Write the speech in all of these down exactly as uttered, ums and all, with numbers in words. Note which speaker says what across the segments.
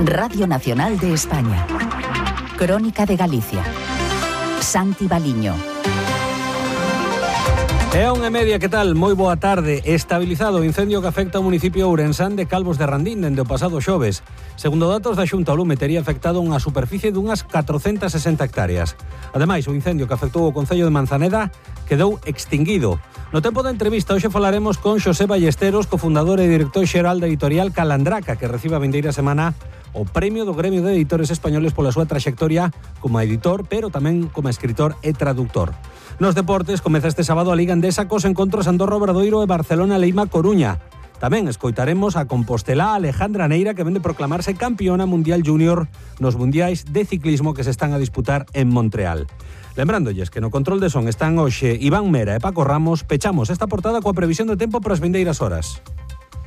Speaker 1: Radio Nacional de España. Crónica de Galicia. Santi Baliño.
Speaker 2: É unha media, que tal? Moi boa tarde. Estabilizado o incendio que afecta o municipio ourensán de Calvos de Randín dende o pasado xoves. Segundo datos da Xunta, o lume tería afectado unha superficie dunhas catrocentas sesenta hectáreas. Ademais, o incendio que afectou o concello de Manzaneda quedou extinguido. No tempo da entrevista, hoxe falaremos con Xosé Ballesteros, cofundador e director xeral da editorial Calandraca, que recibe a vindeira semana o premio do Gremio de Editores Españoles pola súa traxectoria como editor, pero tamén como escritor e traductor. Nos deportes, comeza este sábado a Liga Endesa cos encontros Andorra Obradoiro e Barcelona Leima Coruña. Tamén escoitaremos a compostelá Alejandra Neira, que vende proclamarse campeona mundial júnior nos mundiais de ciclismo que se están a disputar en Montreal. Lembrándoles que no control de son están hoxe Iván Mera e Paco Ramos. Pechamos esta portada coa previsión do tempo para as vindeiras horas.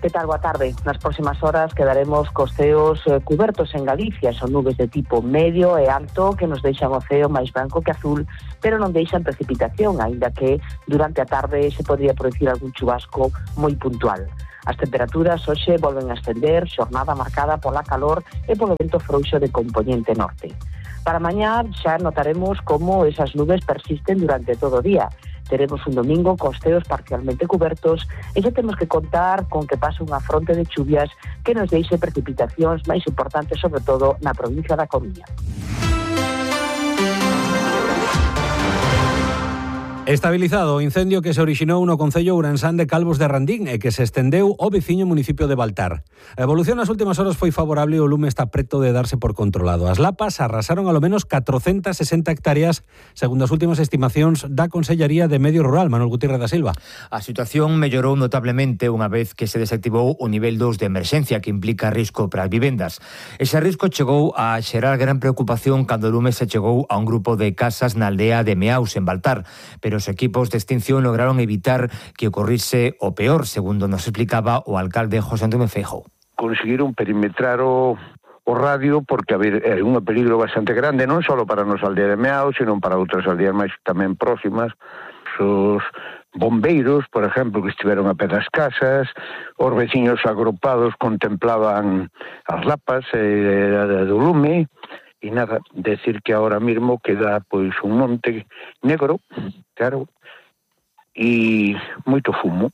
Speaker 3: Que tal? Boa tarde. Nas próximas horas quedaremos cos ceos eh, cubertos en Galicia. Son nubes de tipo medio e alto que nos deixan o ceo máis branco que azul, pero non deixan precipitación, aínda que durante a tarde se podría producir algún chubasco moi puntual. As temperaturas hoxe volven a ascender, xornada marcada pola calor e polo vento frouxo de compoñente norte. Para mañá xa notaremos como esas nubes persisten durante todo o día. Teremos un domingo cos ceos parcialmente cubertos e xa temos que contar con que pase unha fronte de chuvias que nos deixe precipitacións máis importantes, sobre todo na provincia da Coruña.
Speaker 2: Estabilizado o incendio que se orixinou no concello ourensán de Calvos de Randín e que se estendeu ao veciño municipio de Baltar. A evolución nas últimas horas foi favorable e o lume está preto de darse por controlado. As lapas arrasaron alo menos catrocentas sesenta hectáreas, segundo as últimas estimacións da Consellería de Medio Rural. Manuel Gutiérrez da Silva.
Speaker 4: A situación mellorou notablemente unha vez que se desactivou o nivel dos de emerxencia, que implica risco para as vivendas. Ese risco chegou a xerar gran preocupación cando o lume se chegou a un grupo de casas na aldea de Meaus, en Baltar, pero os equipos de extinción lograron evitar que ocorrise o peor, segundo nos explicaba o alcalde José Antonio Feijóo.
Speaker 5: Conseguiron perimetrar o, o radio porque a ver, é un peligro bastante grande, non só para a nosa aldea de Meao, sino para outras aldeas máis tamén próximas. Os bombeiros, por exemplo, que estiveron a pé das casas, os veciños agrupados contemplaban as lapas eh, do lume. E nada, decir que ahora mesmo queda pois un monte negro, claro, e moito fumo.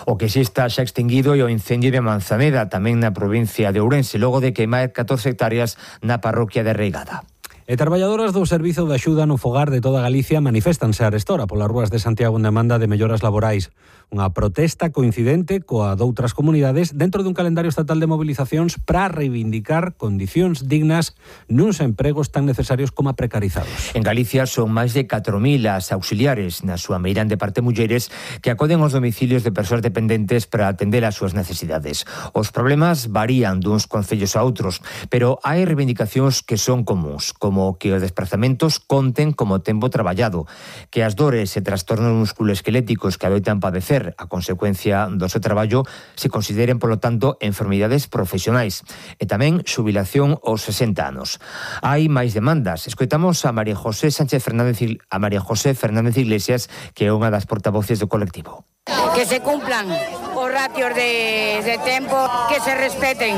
Speaker 4: O que si está xa extinguido é o incendio de Manzaneda, tamén na provincia de Ourense, logo de queimar catorce hectáreas na parroquia de Reigada.
Speaker 2: E traballadoras do Servizo de Axuda no Fogar de toda Galicia maniféstanse arestora polas rúas de Santiago en demanda de melloras laborais. Unha protesta coincidente coa doutras comunidades dentro dun calendario estatal de movilizacións para reivindicar condicións dignas nuns empregos tan necesarios como precarizados.
Speaker 4: En Galicia son máis de catro mil as auxiliares, na súa meirande parte mulleres, que acoden aos domicilios de persoas dependentes para atender as súas necesidades. Os problemas varían duns concellos a outros, pero hai reivindicacións que son comuns, como que os desplazamentos conten como tempo traballado, que as dores e trastornos musculoesqueléticos que adoitan padecer a consecuencia do seu traballo se consideren, polo tanto, enfermidades profesionais, e tamén xubilación aos sesenta anos. Hai máis demandas. Escoitamos a María José Sánchez Fernández a María José Fernández Iglesias, que é unha das portavoces do colectivo.
Speaker 6: Que se cumplan os ratios de, de tempo, que se respeten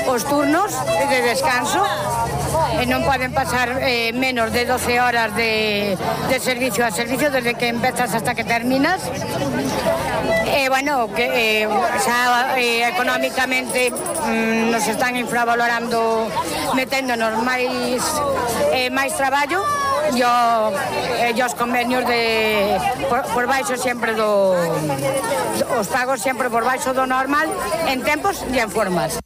Speaker 6: os turnos de descanso, e non poden pasar eh, menos de doce horas de, de servicio a servicio desde que empezas hasta que terminas. E, bueno, que eh, xa eh, económicamente mm, nos están infravalorando, meténdonos máis eh, máis traballo e eh, os convenios de por, por baixo sempre do os pagos sempre por baixo do normal en tempos e en formas.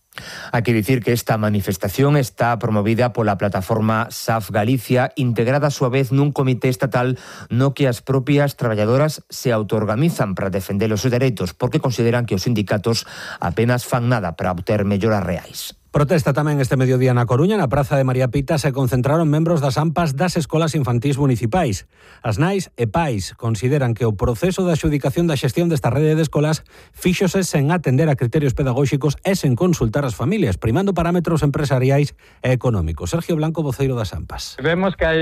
Speaker 4: Hai que dicir que esta manifestación está promovida pola plataforma S A F Galicia, integrada a súa vez nun comité estatal no que as propias traballadoras se autoorganizan para defender os seus dereitos, porque consideran que os sindicatos apenas fan nada para obter melloras reais.
Speaker 2: Protesta tamén este mediodía na Coruña. Na Praza de María Pita se concentraron membros das AMPAs das escolas infantís municipais. As nais e pais consideran que o proceso de adxudicación da xestión desta rede de escolas fíxose sen atender a criterios pedagóxicos e sen consultar as familias, primando parámetros empresariais e económicos. Sergio Blanco, voceiro das AMPAs.
Speaker 7: Vemos que hai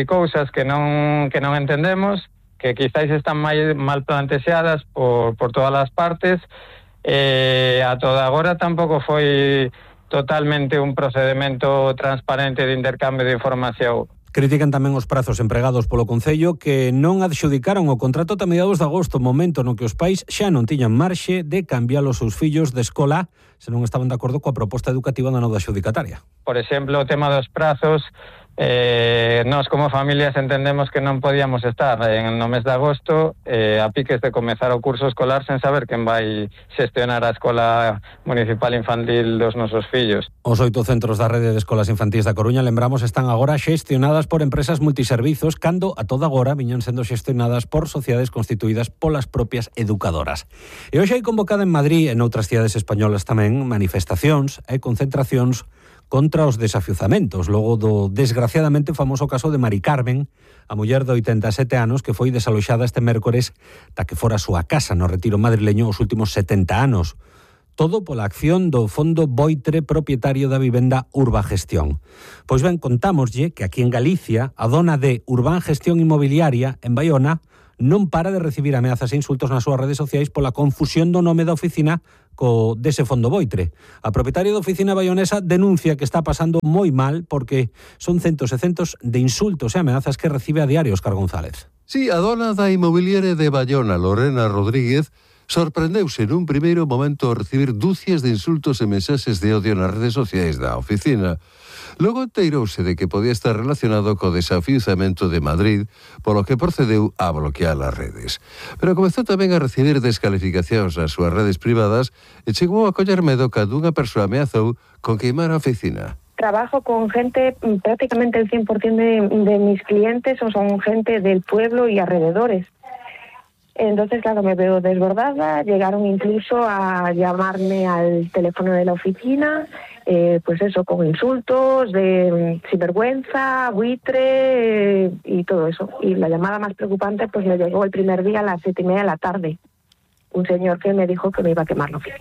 Speaker 7: cousas que non que non entendemos, que quizáis están mal plantexadas por, por todas as partes. Eh, a toda agora tampouco foi totalmente un procedimento transparente de intercambio de información.
Speaker 2: Critican tamén os prazos empregados polo Concello que non adxudicaron o contrato ata mediados de agosto, momento no que os pais xa non tiñan marxe de cambiar os seus fillos de escola se non estaban de acordo coa proposta educativa da nova adxudicataria.
Speaker 7: Por exemplo, o tema dos prazos, eh, nós como familias entendemos que non podíamos estar en, no mes de agosto eh, a piques de comezar o curso escolar sen saber quen vai xestionar a escola municipal infantil dos nosos fillos.
Speaker 2: Os oito centros da rede de escolas infantís da Coruña, lembramos, están agora xestionadas por empresas multiservizos, cando a toda agora viñan sendo xestionadas por sociedades constituídas polas propias educadoras. E hoxe hai convocada en Madrid e noutras cidades españolas tamén manifestacións e concentracións contra os desafiuzamentos, logo do desgraciadamente famoso caso de Mari Carmen, a muller de oitenta e sete anos que foi desaloxada este mércores da que fora a súa casa no Retiro madrileño os últimos setenta anos. Todo pola acción do Fondo Boitre, propietario da vivenda Urbagestión. Pois ben, contámoslle que aquí en Galicia a dona de Urbagestión Inmobiliaria en Baiona non para de recibir ameazas e insultos nas súas redes sociais pola confusión do nome da oficina co dese Fondo Boitre. A propietaria da oficina baionesa denuncia que está pasando moi mal porque son centos e centos de insultos e ameazas que recibe a diario Óscar González.
Speaker 8: Sí, a dona da inmobiliaria de Baiona, Lorena Rodríguez, sorprendeuse nun primeiro momento ao recibir dúcias de insultos e mensaxes de odio nas redes sociais da oficina. Logo enteirouse de que podía estar relacionado co desafiuzamento de Madrid, polo que procedeu a bloquear as redes. Pero comezou tamén a recibir descalificacións nas súas redes privadas e chegou a coller medo cando unha persoa ameazou con queimar a oficina.
Speaker 9: Trabajo con gente, prácticamente el cien por ciento de, de mis clientes o son gente del pueblo y alrededores. Entonces, claro, me veo desbordada, llegaron incluso a llamarme al teléfono de la oficina, eh, pues eso, con insultos, de sinvergüenza, buitre eh, y todo eso. Y la llamada más preocupante pues me llegó el primer día a las siete y media de la tarde. Un señor que me dijo que me iba a quemar la oficina.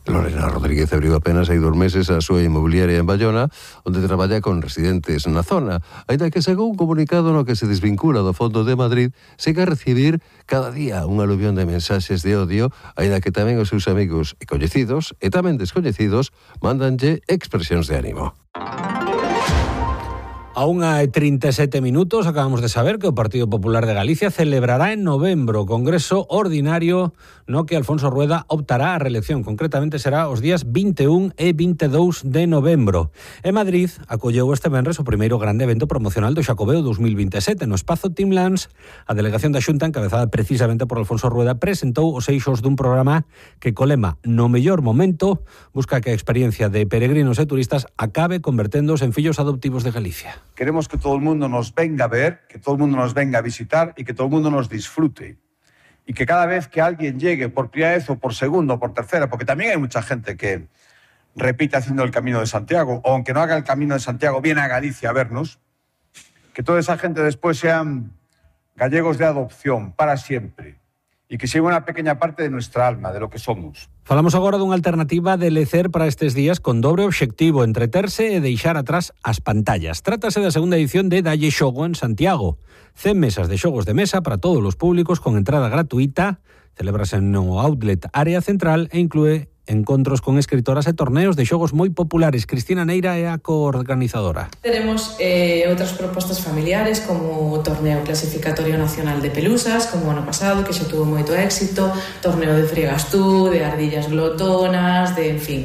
Speaker 8: Lorena Rodríguez abriu apenas hai dos meses a súa inmobiliaria en Baiona, onde traballa con residentes na zona, aínda que según un comunicado no que se desvincula do Fondo de Madrid, segue a recibir cada día un aluvión de mensaxes de odio, aínda que tamén os seus amigos e coñecidos, e tamén descoñecidos, mándanlle expresións de ánimo.
Speaker 2: A unha e trinta e sete minutos acabamos de saber que o Partido Popular de Galicia celebrará en novembro o Congreso Ordinario no que Alfonso Rueda optará a reelección. Concretamente será os días vinte e un e vinte e dous de novembro. En Madrid acolleu este venres o primeiro grande evento promocional do Xacobeo dos mil vinte e sete. No espazo Timlands, a delegación da Xunta, encabezada precisamente por Alfonso Rueda, presentou os eixos dun programa que co lema "No mellor momento" busca que a experiencia de peregrinos e turistas acabe converténdose en fillos adoptivos de Galicia.
Speaker 10: Queremos que todo el mundo nos venga a ver, que todo el mundo nos venga a visitar y que todo el mundo nos disfrute. Y que cada vez que alguien llegue por primera vez o por segunda o por tercera, porque también hay mucha gente que repite haciendo el Camino de Santiago, o aunque no haga el Camino de Santiago, viene a Galicia a vernos, que toda esa gente después sean gallegos de adopción para siempre. Y que sea una pequeña parte de nuestra alma, de lo que somos.
Speaker 2: Falamos agora dunha alternativa de lecer para estes días con dobre obxectivo, entreterse e deixar atrás as pantallas. Trátase da segunda edición de Dalle Xogo en Santiago. cen mesas de xogos de mesa para todos os públicos con entrada gratuita. Celébrase no Outlet Área Central e inclúe encontros con escritoras e torneos de xogos moi populares. Cristina Neira é a coorganizadora.
Speaker 11: Teremos eh, outras propostas familiares como o torneo clasificatorio nacional de pelusas, como o ano pasado, que xa tuvo moito éxito, torneo de fregas tú, de ardillas glotonas, de, en fin,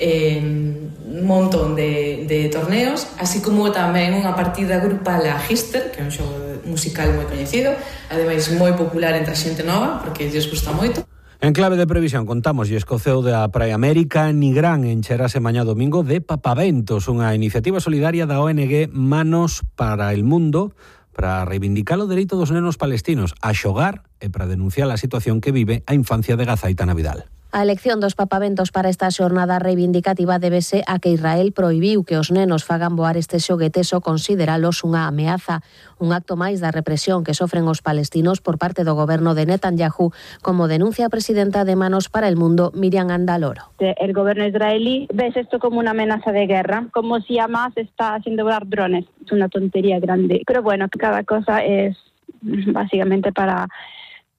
Speaker 11: eh, un montón de, de torneos, así como tamén unha partida grupal a Gister, que é un xogo musical moi coñecido, ademais moi popular entre a xente nova, porque lles gusta moito.
Speaker 2: En clave de previsión, contamos e escoceu da Praia América, Nigrán encherase mañá domingo de Papaventos, unha iniciativa solidaria da O N G Manos para el Mundo, para reivindicar o dereito dos nenos palestinos a xogar e para denunciar a situación que vive a infancia de Gaza Aitana Vidal.
Speaker 12: A elección dos papaventos para esta xornada reivindicativa débese a que Israel prohibiu que os nenos fagan voar estes xoguetes ou consideralos unha ameaza, un acto máis da represión que sofren os palestinos por parte do goberno de Netanyahu, como denuncia a presidenta de Manos para el Mundo, Miriam Andaloro.
Speaker 13: El gobierno israelí ve esto como una amenaza de guerra, como si Hamas está haciendo volar drones. Es una tontería grande. Pero bueno, cada cosa es básicamente para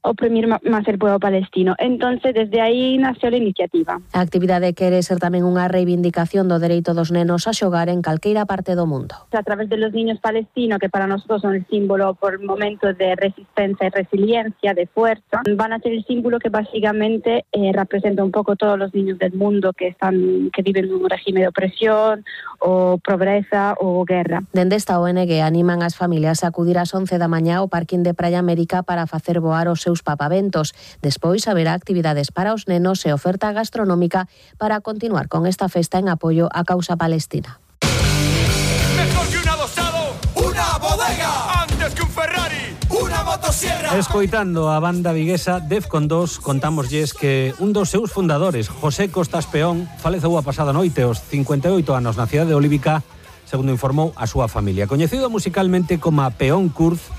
Speaker 13: oprimir máis el pueblo palestino. Entonces, desde aí nació a iniciativa.
Speaker 12: A actividade quere ser tamén unha reivindicación do dereito dos nenos a xogar en calqueira parte do mundo.
Speaker 13: A través de los niños palestinos, que para nosotros son el símbolo por momentos de resistencia y resiliencia, de fuerza, van a ser el símbolo que básicamente eh, representa un poco todos los niños del mundo que están que viven en un régimen de opresión o pobreza ou guerra.
Speaker 12: Dende esta O N G animan as familias a acudir ás once da mañá ao parquín de Praia América para facer voar os seus papaventos. Despois haberá actividades para os nenos e oferta gastronómica para continuar con esta festa en apoio á causa palestina.
Speaker 14: Mejor que un adosado, una bodega. Antes que un Ferrari, una motosierra.
Speaker 2: Escoitando a banda viguesa Defcon dos, contámoslles que un dos seus fundadores, José Costas Peón, faleceu a pasada noite aos cincuenta e oito anos na cidade de Olívica, segundo informou a súa familia. Coñecido musicalmente como Peón Kurz,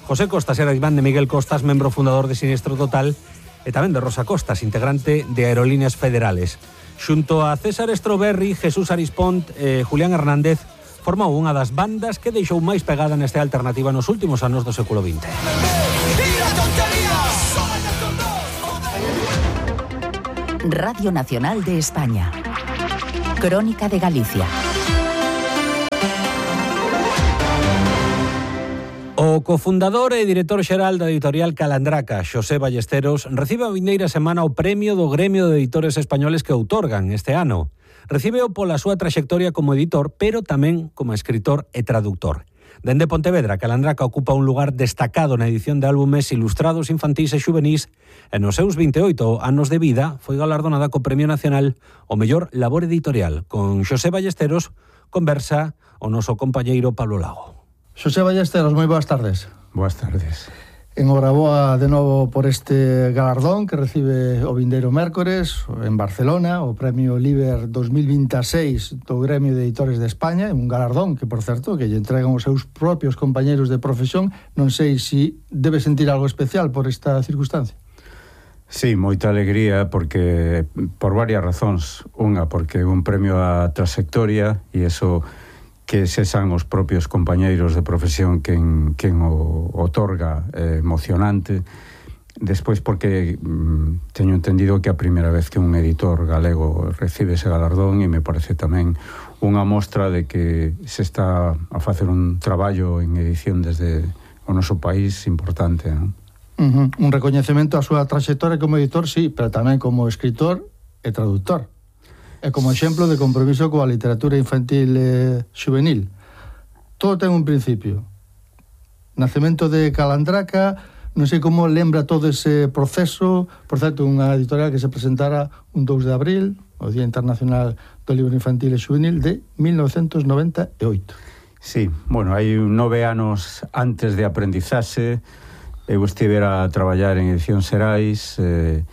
Speaker 2: José Costas era irmán de Miguel Costas, membro fundador de Sinistro Total, e tamén de Rosa Costas, integrante de Aerolíneas Federales. Xunto a César Estroberri, Jesús Arispont e Julián Hernández, formou unha das bandas que deixou máis pegada nesta alternativa nos últimos anos do século vinte.
Speaker 1: Radio Nacional de España. Crónica de Galicia.
Speaker 2: O cofundador e director xeral da editorial Calandraca, Xosé Ballesteros, recibe a vindeira semana o premio do Gremio de Editores Españoles que outorgan este ano. Recíbeo pola súa traxectoria como editor, pero tamén como escritor e traductor. Dende Pontevedra, Calandraca ocupa un lugar destacado na edición de álbumes ilustrados infantís e xuvenís e nos seus vinte e oito anos de vida foi galardonada co Premio Nacional ao mellor labor editorial. Con Xosé Ballesteros conversa o noso compañeiro Pablo Lago.
Speaker 15: Xosé Ballesteros, moi boas tardes.
Speaker 16: Boas tardes.
Speaker 15: Enhoraboa de novo por este galardón que recibe o vindeiro mércores en Barcelona, o Premio Liber dos mil vinte e seis do Gremio de Editores de España, un galardón que, por certo, que lle entregan os seus propios compañeiros de profesión. Non sei se debe sentir algo especial por esta circunstancia.
Speaker 16: Sí, moita alegría porque por varias razóns. Unha, porque un premio á trayectoria e eso que sexan os propios compañeiros de profesión quen, quen o otorga eh, emocionante. Despois porque mm, teño entendido que a primeira vez que un editor galego recibe ese galardón e me parece tamén unha mostra de que se está a facer un traballo en edición desde o noso país importante, non?
Speaker 15: Uh-huh. Un recoñecemento á súa traxectoria como editor, sí, pero tamén como escritor e traductor. É como exemplo de compromiso coa literatura infantil e xuvenil. Todo ten un principio. Nacemento de Calandraca, non sei como lembra todo ese proceso. Por certo, unha editorial que se presentara un dous de abril, o Día Internacional do Libro Infantil e Xuvenil de mil novecentos noventa e oito.
Speaker 16: Sí, bueno, hai nove anos antes de aprendizaxe, eu estivera a traballar en Edición Xerais, eh,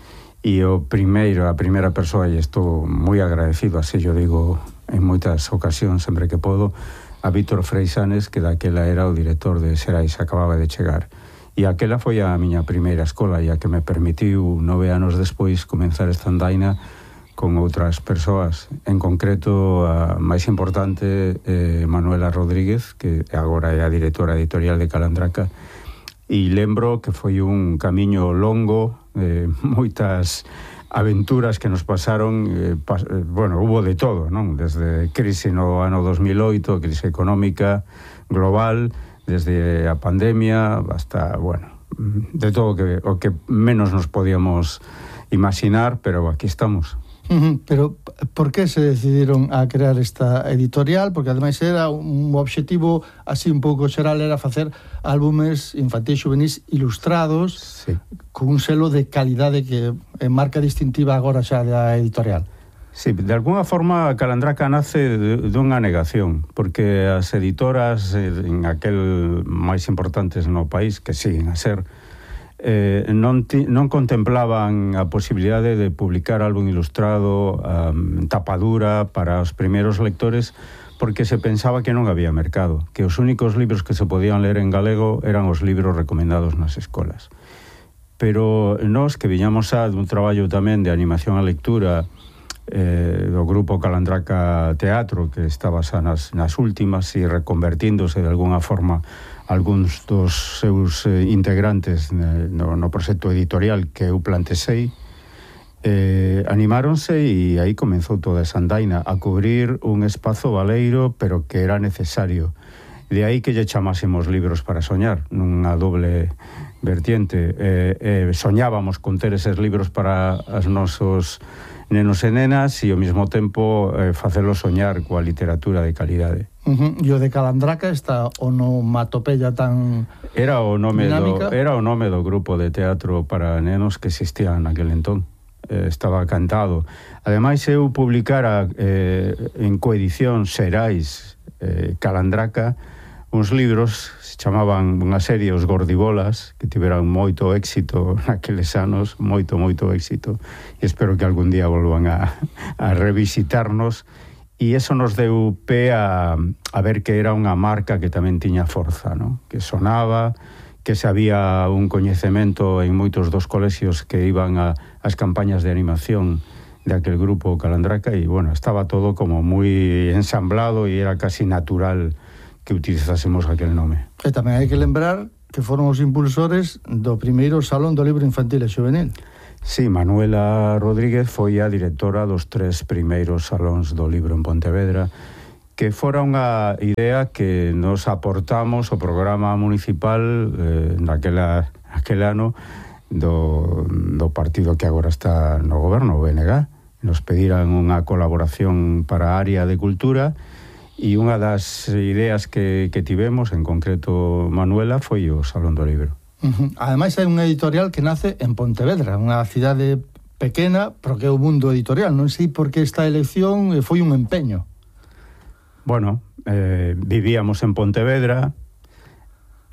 Speaker 16: e o primeiro, a primeira persoa, e estou moi agradecido, así yo digo en moitas ocasións, sempre que podo, a Víctor Freixanes, que daquela era o director de Xerais, acababa de chegar. E aquela foi a miña primeira escola, e a que me permitiu nove anos despois comenzar esta andaina con outras persoas. En concreto, a máis importante, eh, Manuela Rodríguez, que agora é a directora editorial de Calandraca, e lembro que foi un camiño longo, eh, moitas aventuras que nos pasaron, eh, pas, eh, bueno, hubo de todo, non? Desde crise no ano dos mil oito, crise económica global, desde a pandemia hasta, bueno, de todo que, o que menos nos podíamos imaginar, pero aquí estamos.
Speaker 15: Uh-huh. Pero por que se decidiron a crear esta editorial? Porque ademais era un obxectivo así un pouco xeral, era facer álbumes infantis xuvenís ilustrados, sí, con un selo de calidade que é marca distintiva agora xa da editorial.
Speaker 16: Sí, de alguna forma Calandraca nace dunha negación, porque as editoras en aquel máis importantes no país, que siguen a ser, Eh, non, ti, non contemplaban a posibilidade de publicar álbum ilustrado, um, tapadura para os primeiros lectores, porque se pensaba que non había mercado, que os únicos libros que se podían ler en galego eran os libros recomendados nas escolas. Pero nós, que viñamos a dun traballo tamén de animación á lectura eh, do grupo Calandraca Teatro, que estaba xa nas, nas últimas e reconvertíndose de alguna forma algúns dos seus eh, integrantes no, no proxecto editorial que eu plantexei, eh, animáronse e aí comenzou toda esa andaina a cubrir un espazo baleiro, pero que era necesario. De aí que lle chamásemos Libros para soñar, nunha doble vertiente. Eh, eh, soñábamos con ter eses libros para os nosos nenos e nenas e ao mesmo tempo eh, facelo soñar coa literatura de calidade.
Speaker 15: Uh-huh. E o de Calandraca está onomatopeya tan
Speaker 16: era o nome
Speaker 15: dinámica?
Speaker 16: do era o nome do grupo de teatro para nenos que existía naquel entón. Eh, estaba cantado. Ademais, eu publicara eh, en coedición Xerais eh, Calandraca uns libros, se chamaban unha serie Os Gordibolas, que tiveran moito éxito naqueles anos, moito, moito éxito, e espero que algún día volvan a, a revisitarnos, e eso nos deu pé a, a ver que era unha marca que tamén tiña forza, ¿no? Que sonaba, que se había un coñecemento en moitos dos colexios que iban a as campañas de animación de aquel grupo Calandraca, e, bueno, estaba todo como moi ensamblado e era casi natural que utilizásemos aquel nome.
Speaker 15: E tamén hai que lembrar que foron os impulsores do primeiro Salón do Libro Infantil e Xuvenil.
Speaker 16: Sí, Manuela Rodríguez foi a directora dos tres primeiros salóns do libro en Pontevedra, que fora unha idea que nos aportamos ao programa municipal eh, naquela, aquel ano do, do partido que agora está no goberno, o B N G. Nos pediran unha colaboración para a área de cultura, e unha das ideas que, que tivemos, en concreto Manuela, foi o Salón do Libro.
Speaker 15: Uh-huh. Ademais, hai unha editorial que nace en Pontevedra, unha cidade pequena, pero que é o mundo editorial. Non sei por que esta elección foi un empeño.
Speaker 16: Bueno, eh, vivíamos en Pontevedra,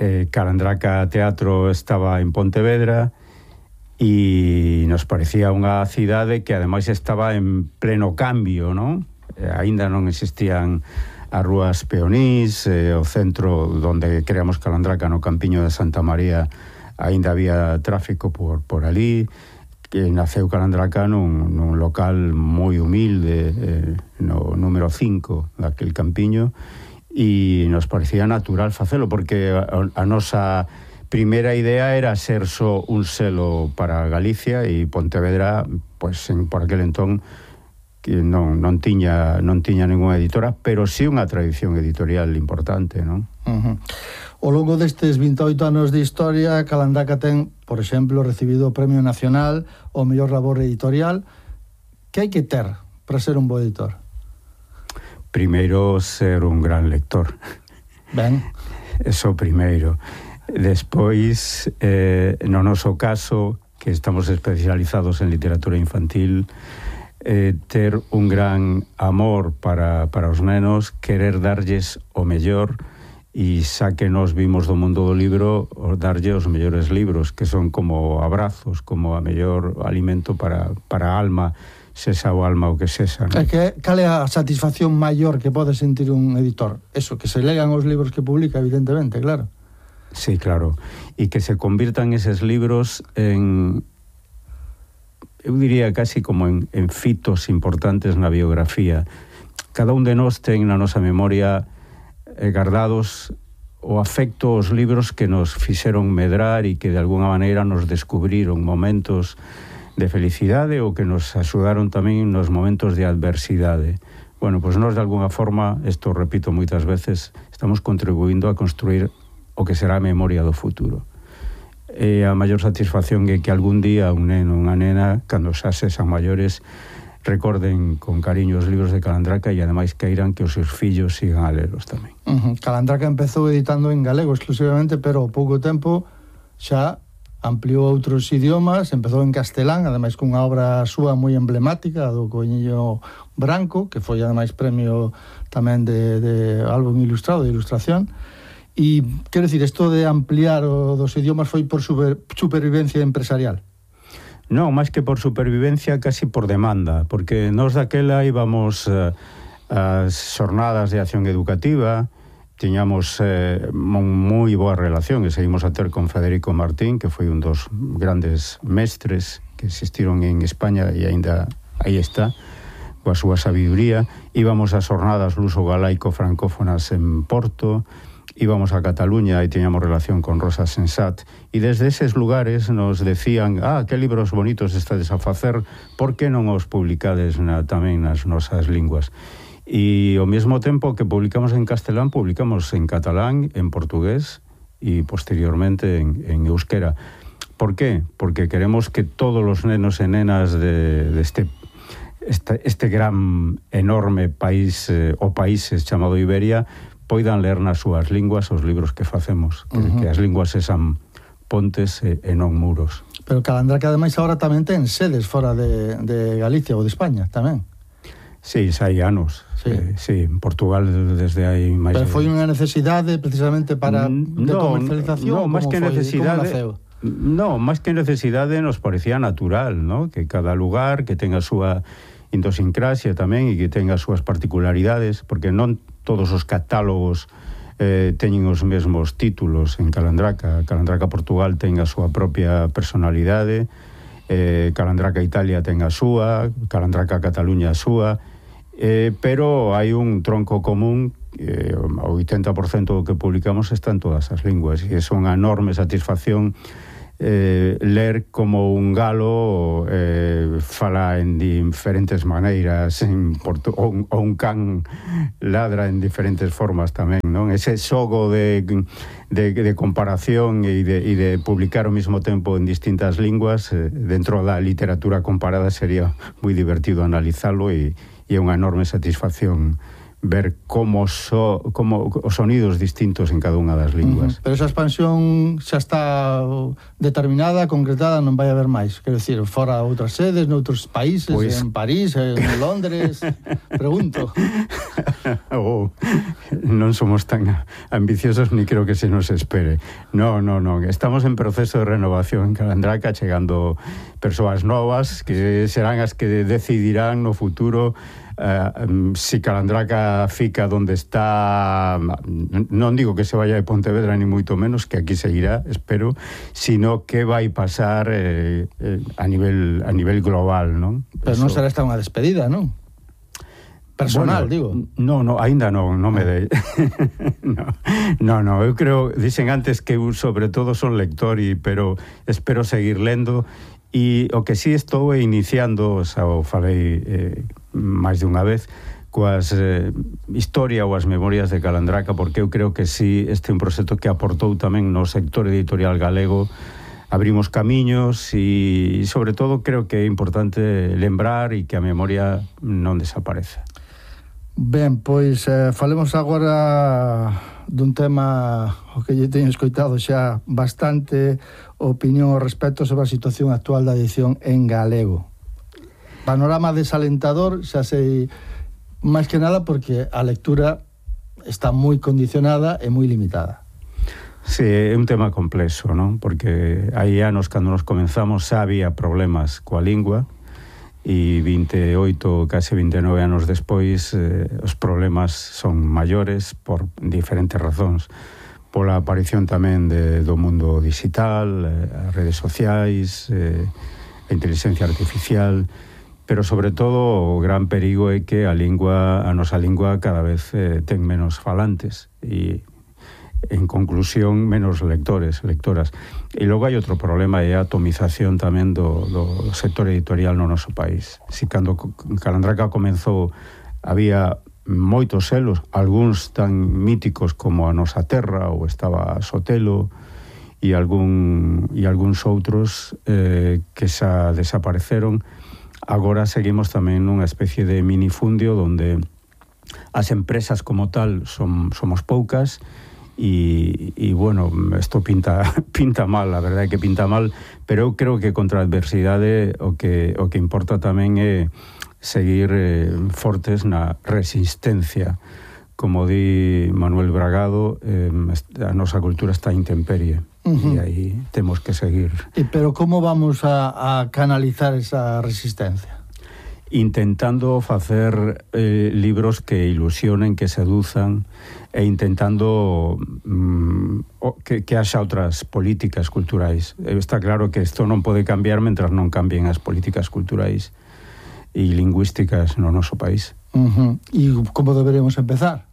Speaker 16: eh, Calandraca Teatro estaba en Pontevedra, e nos parecía unha cidade que ademais estaba en pleno cambio, non? Eh, aínda non existían as rúas peonís, eh, o centro onde creamos Calandraca no Campiño de Santa María, aínda había tráfico por, por ali, que naceu Calandraca nun, nun local moi humilde, eh, no número cinco daquel Campiño, e nos parecía natural facelo, porque a, a nosa primeira idea era ser só un selo para Galicia, e Pontevedra, pois, en, por aquel entón, que non, non tiña non tiña ninguna editora, pero sí unha tradición editorial importante, non?
Speaker 15: Uh-huh. Ao longo destes vinte e oito anos de historia, Calandraca ten, por exemplo, recibido o Premio Nacional ao mellor labor editorial. Que hai que ter para ser un bo editor?
Speaker 16: Primeiro, ser un gran lector.
Speaker 15: Ben.
Speaker 16: Eso primeiro. Despois, eh, no noso caso, que estamos especializados en literatura infantil, Eh, ter un gran amor para, para os nenos, querer darlles o mellor, e xa que nos vimos do mundo do libro, darlle os mellores libros, que son como abrazos, como a mellor alimento para, para a alma, sexa o alma o que sexa, ¿no?
Speaker 15: É que, cal é a satisfacción maior que pode sentir un editor? Eso, que se lean os libros que publica, evidentemente, claro.
Speaker 16: Sí, claro, e que se convirtan eses libros en... eu diría casi como en, en fitos importantes na biografía. Cada un de nós ten na nosa memoria eh, guardados o afecto aos libros que nos fixeron medrar e que de alguna maneira nos descubriron momentos de felicidade ou que nos axudaron tamén nos momentos de adversidade. Bueno, pois nós de alguna forma, isto repito moitas veces, estamos contribuindo a construir o que será a memoria do futuro. E a maior satisfacción é que algún día un neno, unha nena, cando xa sexan maiores, recorden con cariño os libros de Calandraca e ademais queiran que os seus fillos sigan a lelos tamén.
Speaker 15: Uh-huh. Calandraca empezou editando en galego exclusivamente, pero ao pouco tempo xa ampliou outros idiomas, empezou en castelán, ademais cunha obra súa moi emblemática, do Coiño Branco, que foi ademais premio tamén de, de álbum ilustrado, de ilustración. E, quero dicir, isto de ampliar o dos idiomas foi por super, supervivencia empresarial?
Speaker 16: Non, máis que por supervivencia, casi por demanda, porque nós daquela íbamos uh, ás xornadas de acción educativa, tiñamos eh, moi boa relación, e seguimos a ter con Federico Martín, que foi un dos grandes mestres que existiron en España e aínda aí está, coa súa sabiduría. Íbamos ás jornadas luso-galaico-francófonas en Porto, íbamos a Cataluña e teníamos relación con Rosa Sensat, e desde eses lugares nos decían: ah, que libros bonitos estades a facer, por que non os publicades na, tamén nas nosas linguas? E ao mesmo tempo que publicamos en castelán, publicamos en catalán, en portugués e posteriormente en, en euskera. Por qué? Porque queremos que todos os nenos e nenas de, de este, este, este gran, enorme país, eh, o países chamado Iberia, poidan ler nas súas linguas os libros que facemos, que, uh-huh. que as linguas sean pontes e, e non muros.
Speaker 15: Pero Calandraca, ademais, agora tamén ten sedes fora de, de Galicia ou de España, tamén.
Speaker 16: Sí, xa hai anos. Sí, eh, sí, en Portugal desde hai máis...
Speaker 15: Pero foi unha necesidade precisamente para de
Speaker 16: no,
Speaker 15: comercialización?
Speaker 16: No, máis que necesidade...
Speaker 15: Como
Speaker 16: no, máis que necesidade nos parecía natural, ¿no? Que cada lugar que tenga a súa idiosincrasia tamén e que tenga as súas particularidades, porque non todos os catálogos eh, teñen os mesmos títulos en Calandraca. Calandraca Portugal ten a súa propia personalidade, eh, Calandraca Italia ten a súa, Calandraca Cataluña a súa, eh, pero hai un tronco común, eh, o oitenta por cento do que publicamos está en todas as linguas, e é unha enorme satisfacción Eh, ler como un galo eh, fala en diferentes maneiras en portu- ou, un, ou un can ladra en diferentes formas tamén, non? Ese xogo de, de, de comparación e de, e de publicar ao mesmo tempo en distintas linguas eh, dentro da literatura comparada sería moi divertido analizalo e, e é unha enorme satisfacción ver como, so, como os sonidos distintos en cada unha das linguas.
Speaker 15: Uh-huh. Pero esa expansión xa está determinada, concretada, non vai haber máis. Quero dicir, fora outras sedes, noutros países, pues... en París, en Londres... Pregunto.
Speaker 16: Oh, non somos tan ambiciosos ni creo que se nos espere. No, no, no. Estamos en proceso de renovación en Calandraca, chegando persoas novas que serán as que decidirán no futuro Uh, um, si Calandraca fica donde está. Non digo que se vaya de Pontevedra ni moito menos, que aquí seguirá, espero, sino que vai pasar eh, eh, a nivel a nivel global, non?
Speaker 15: Pero non será esta unha despedida, non? Personal, bueno, digo.
Speaker 16: No, no, aínda non, non me dei. no, no, no, eu creo, dicen antes que eu sobre todo son lector, y, pero espero seguir lendo. E o que sí estou iniciando, xa o falei eh, máis de unha vez, coas eh, historia ou as memorias de Calandraca, porque eu creo que sí, este é un proxecto que aportou tamén no sector editorial galego, abrimos camiños e, sobre todo, creo que é importante lembrar e que a memoria non desaparece.
Speaker 15: Ben, pois eh, falemos agora dun tema o que lle teño escoitado xa bastante opinión ao respecto sobre a situación actual da edición en galego. Panorama desalentador, xa sei, máis que nada porque a lectura está moi condicionada e moi limitada.
Speaker 16: Sí, é un tema complexo, non? Porque hai anos cando nos comenzamos xa había problemas coa lingua, e veintioito, case veintinueve anos despois eh, os problemas son maiores por diferentes razóns, pola aparición tamén de, do mundo digital, eh, as redes sociais, eh, a inteligencia artificial, pero sobre todo o gran perigo é que a lingua, a nosa lingua cada vez eh, ten menos falantes e, en conclusión, menos lectores, lectoras. E logo hai outro problema, é a atomización tamén do, do sector editorial no noso país. Si cando Calandraca comenzou había moitos selos, algúns tan míticos como A Nosa Terra ou estaba Sotelo e algún e algúns outros eh, que xa desapareceron. Agora seguimos tamén nunha especie de minifundio onde as empresas como tal son, somos poucas. E, e bueno, isto pinta pinta mal, a verdade é que pinta mal, pero eu creo que contra a adversidade o que, o que importa tamén é seguir eh, fortes na resistencia. Como di Manuel Bragado, eh, a nosa cultura está a intemperie, uh-huh. E aí temos que seguir.
Speaker 15: E pero como vamos a, a canalizar esa resistencia?
Speaker 16: Intentando facer eh, libros que ilusionen, que seduzan, e intentando mm, que, que haxa outras políticas culturais. Está claro que isto non pode cambiar mentras non cambien as políticas culturais. e lingüísticas no noso país.
Speaker 15: Uh-huh. E como deberemos empezar?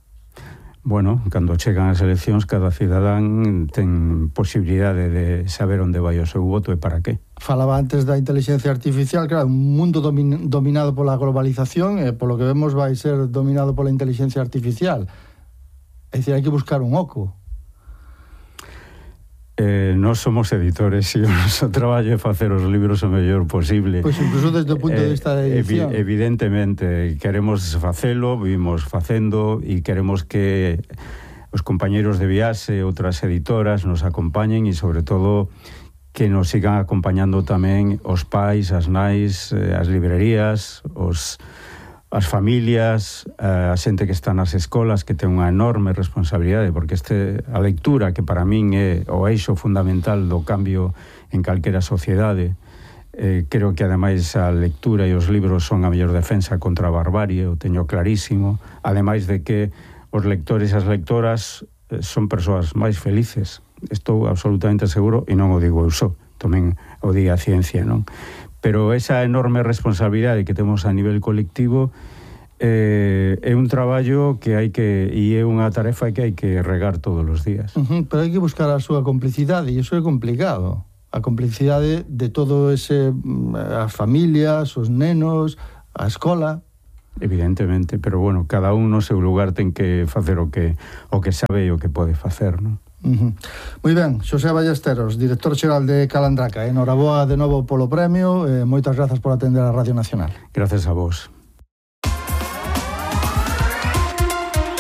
Speaker 16: Bueno, cando chegan as eleccións, cada cidadán ten posibilidade de saber onde vai o seu voto e para qué.
Speaker 15: Falaba antes da inteligencia artificial, claro, un mundo domin, dominado pola globalización e polo que vemos vai ser dominado pola inteligencia artificial. É dicir, hai que buscar un oco.
Speaker 16: Eh, nós somos editores e o noso traballo é facer os libros o mellor posible.
Speaker 15: Pois incluso desde o punto de vista de edición.
Speaker 16: Evi evidentemente, queremos facelo, vimos facendo e queremos que os compañeros de Viaxe e outras editoras nos acompañen e sobre todo que nos sigan acompañando tamén os pais, as nais, as librerías, os as familias, a xente que está nas escolas, que ten unha enorme responsabilidade, porque este a lectura, que para min é o eixo fundamental do cambio en calquera sociedade, eh, creo que ademais a lectura e os libros son a mellor defensa contra a barbarie, o teño clarísimo, ademais de que os lectores e as lectoras eh, son persoas máis felices, estou absolutamente seguro, e non o digo eu só, tamén o diga a ciencia, non? Pero esa enorme responsabilidade que temos a nivel colectivo eh, é un traballo que hai que, e é unha tarefa que hai que regar todos os días.
Speaker 15: Uh-huh, pero hai que buscar a súa complicidade, e iso é complicado. A complicidade de todo ese, as familias, os nenos, a escola.
Speaker 16: Evidentemente, pero bueno, cada un no seu lugar ten que facer o que o que sabe e o que pode facer, non?
Speaker 15: Uh-huh. Moi ben, Xosé Ballesteros, director xeral de Calandraca. Enhoraboa de novo polo premio e moitas grazas por atender a Radio Nacional.
Speaker 16: Gracias a vos.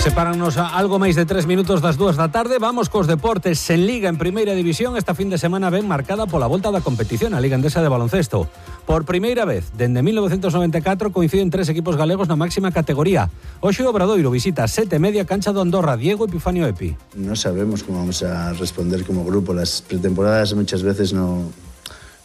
Speaker 2: Sepáranos a algo máis de tres minutos das dúas da tarde. Vamos cos deportes en Liga en Primeira División. Esta fin de semana ben marcada pola volta da competición, a Liga Endesa de baloncesto. Por primeira vez, dende mil novecentos noventa e catro, coinciden tres equipos galegos na máxima categoría. Hoxe o Obradoiro visita a sete media cancha do Andorra. Diego Epifanio Epi.
Speaker 17: No sabemos cómo vamos a responder como grupo. Las pretemporadas muchas veces no...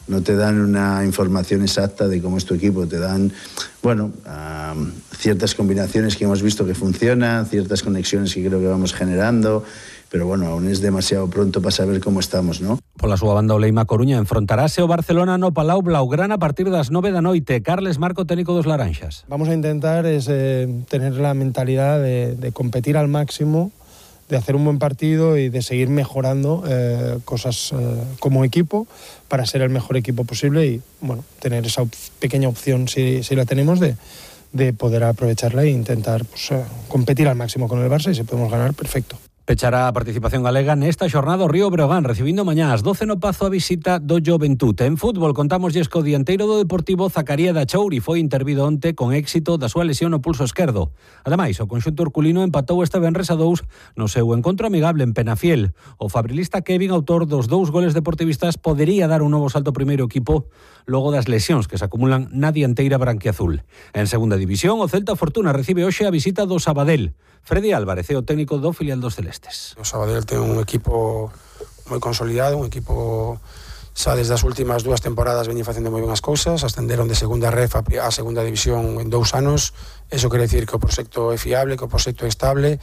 Speaker 17: no te dan una información exacta de cómo es tu equipo, te dan, bueno, um, ciertas combinaciones que hemos visto que funcionan, ciertas conexiones que creo que vamos generando, pero bueno, aún es demasiado pronto para saber cómo estamos, ¿no?
Speaker 2: Pola súa banda o Leima Coruña enfrontarase o Barcelona no Palau Blaugrana a partir das nove da noite. Carles Marco, técnico dos Laranxas.
Speaker 18: Vamos a intentar es, eh, tener la mentalidad de, de competir al máximo, de hacer un buen partido y de seguir mejorando eh, cosas eh, como equipo para ser el mejor equipo posible y bueno, tener esa op pequeña opción, si, si la tenemos, de, de poder aprovecharla e intentar pues, eh, competir al máximo con el Barça, y si podemos ganar, perfecto.
Speaker 2: Pechará a participación galega nesta xornada o Río Breogán, recibindo mañá ás doce no Pazo a visita do Joventute. En fútbol contámoslle que o dianteiro do Deportivo, Zacaría da Chouri, foi intervido onte con éxito da súa lesión no pulso esquerdo. Ademais, o conxunto herculino empatou este venres a dous no seu encontro amigable en Penafiel. O fabrilista Kevin, autor dos dous goles deportivistas, podería dar un novo salto ao primeiro equipo logo das lesións que se acumulan na dianteira branquiazul. En segunda división, o Celta Fortuna recibe hoxe a visita do Sabadell. Freddy Álvarez é o técnico do filial dos Celestes.
Speaker 19: O Sabadell ten un equipo moi consolidado, un equipo xa desde as últimas dúas temporadas veñen facendo moi ben as cousas, ascenderon de segunda ref a segunda división en dous anos. Eso quere decir que o proxecto é fiable, que o proxecto é estable,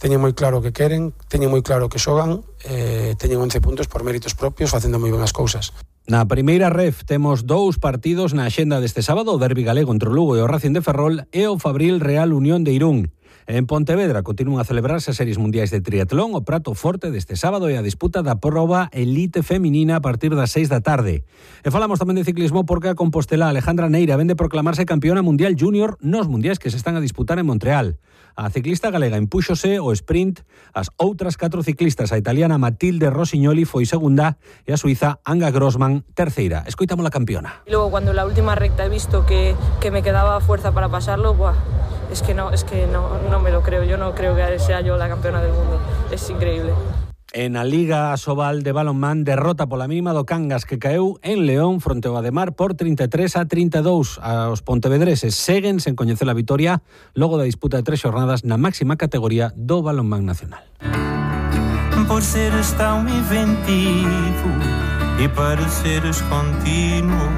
Speaker 19: teñen moi claro o que queren, teñen moi claro o que xogan, eh, teñen once puntos por méritos propios facendo moi ben as cousas.
Speaker 2: Na primeira ref temos dous partidos na axenda deste sábado, o derbi galego entre o Lugo e o Racing de Ferrol e o Fabril Real Unión de Irún. En Pontevedra continúan a celebrarse as series mundiais de triatlón. O prato forte deste sábado e a disputa da proba elite feminina a partir das seis da tarde. E falamos tamén de ciclismo porque a compostelá Alejandra Neira vende proclamarse campeona mundial júnior nos mundiais que se están a disputar en Montreal. A ciclista galega impúxose o sprint, as outras catro ciclistas, a italiana Matilde Rossignoli foi segunda e a suiza Anga Grossman terceira. Escoitamos la campeona.
Speaker 20: Y luego cuando en la última recta he visto que, que me quedaba fuerza para pasarlo, ¡buah! Es que no, es que no, no me lo creo. Yo no creo que sea yo la campeona del mundo. Es increíble.
Speaker 2: En a Liga Asobal de balonmán, derrota pola mínima do Cangas, que caeu en León fronte ao Ademar por trinta e tres a trinta e dous. Os pontevedreses seguen sen coñecer a vitoria logo da disputa de tres xornadas na máxima categoría do balonmán nacional.
Speaker 21: Por seres tão inventivo e para seres continuo.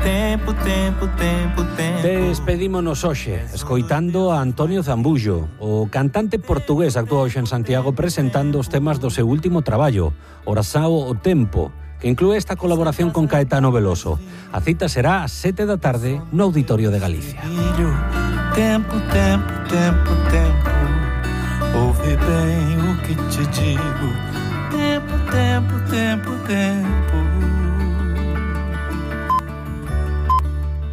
Speaker 21: Tempo, tempo, tempo, tempo.
Speaker 2: Despedímonos hoxe escoitando a Antonio Zambullo. O cantante portugués actúa hoxe en Santiago presentando os temas do seu último traballo, Orasao o Tempo, que inclúe esta colaboración con Caetano Veloso. A cita será ás sete da tarde no Auditorio de Galicia.
Speaker 21: Tempo, tempo, tempo, tempo, ouve bem o que te digo. Tempo, tempo, tempo, tempo.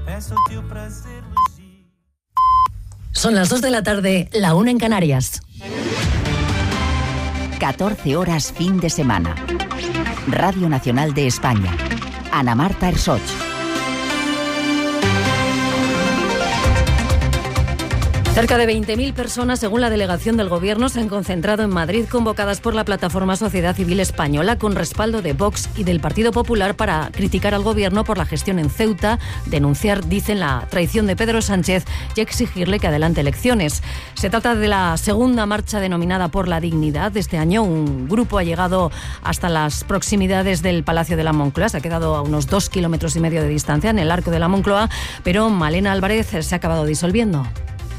Speaker 21: Peço-te o prazer.
Speaker 1: Son las dos de la tarde, la una en Canarias. catorce horas fin de semana. Radio Nacional de España. Ana Marta Ersoch.
Speaker 3: Cerca de veinte mil personas, según la delegación del Gobierno, se han concentrado en Madrid, convocadas por la plataforma Sociedad Civil Española, con respaldo de Vox y del Partido Popular, para criticar al Gobierno por la gestión en Ceuta, denunciar, dicen, la traición de Pedro Sánchez y exigirle que adelante elecciones. Se trata de la segunda marcha denominada Por la Dignidad de este año. Un grupo ha llegado hasta las proximidades del Palacio de la Moncloa, se ha quedado a unos dos kilómetros y medio de distancia en el Arco de la Moncloa, pero Malena Álvarez se ha acabado disolviendo.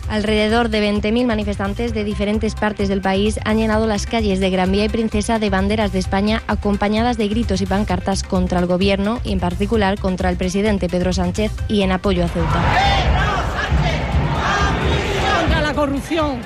Speaker 22: Alrededor de veinte mil manifestantes de diferentes partes del país han llenado las calles de Gran Vía y Princesa de banderas de España, acompañadas de gritos y pancartas contra el Gobierno y en particular contra el presidente Pedro Sánchez, y en apoyo a Ceuta.
Speaker 23: Contra la corrupción,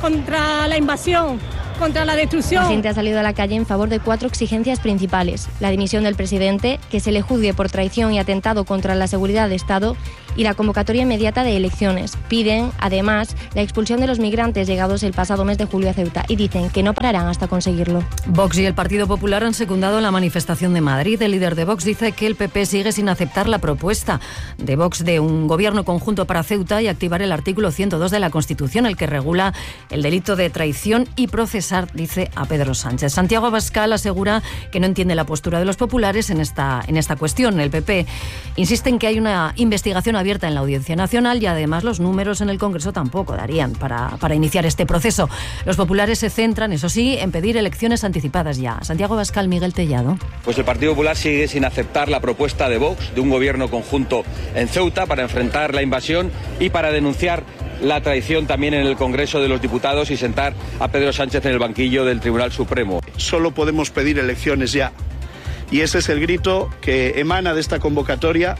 Speaker 23: contra la invasión, contra la destrucción.
Speaker 22: La gente ha salido a la calle en favor de cuatro exigencias principales: la dimisión del presidente, que se le juzgue por traición y atentado contra la seguridad de Estado, y la convocatoria inmediata de elecciones. Piden, además, la expulsión de los migrantes llegados el pasado mes de julio a Ceuta y dicen que no pararán hasta conseguirlo.
Speaker 3: Vox y el Partido Popular han secundado la manifestación de Madrid. El líder de Vox dice que el P P sigue sin aceptar la propuesta de Vox de un gobierno conjunto para Ceuta y activar el artículo ciento dos de la Constitución, el que regula el delito de traición, y procesar, dice, a Pedro Sánchez. Santiago Abascal asegura que no entiende la postura de los populares en esta, en esta cuestión. El P P insiste en que hay una investigación abierta en la Audiencia Nacional y además los números en el Congreso tampoco darían para, para iniciar este proceso. Los populares se centran, eso sí, en pedir elecciones anticipadas ya. Santiago Abascal, Miguel Tellado.
Speaker 24: Pues el Partido Popular sigue sin aceptar la propuesta de Vox de un gobierno conjunto en Ceuta para enfrentar la invasión y para denunciar la traición también en el Congreso de los Diputados y sentar a Pedro Sánchez en el banquillo del Tribunal Supremo.
Speaker 25: Solo podemos pedir elecciones ya. Y ese es el grito que emana de esta convocatoria.